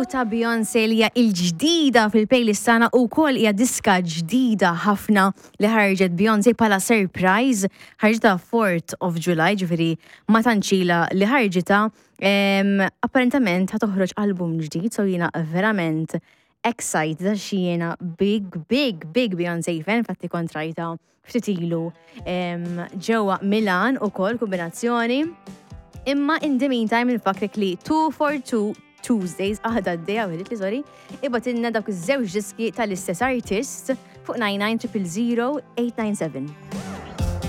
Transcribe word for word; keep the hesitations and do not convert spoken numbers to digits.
ta' Beyoncé li hija il-ġdida fil-playlist tagħna u wkoll hija diska ġdida ħafna li ħarġet Beyoncé bħala surprise, ħarġitha fourth of July, ġifieri ma tantx ilha li ħarġitha. Em, Apparentament ħa toħroġ album ġdid, so jiena verament excited għax jiena big, big, big Beyoncé fan, infatti kont rajtha ftit ilu em, ġewwa Milan ukoll kombinazzjoni. Imma in the meantime nfakkrek li two four two Tuesdays, għadha għaddejja, għedt li sorry, ibgħatilna dawk iż-żewġ diski tal-istess artist fuq nine nine zero zero eight nine seven.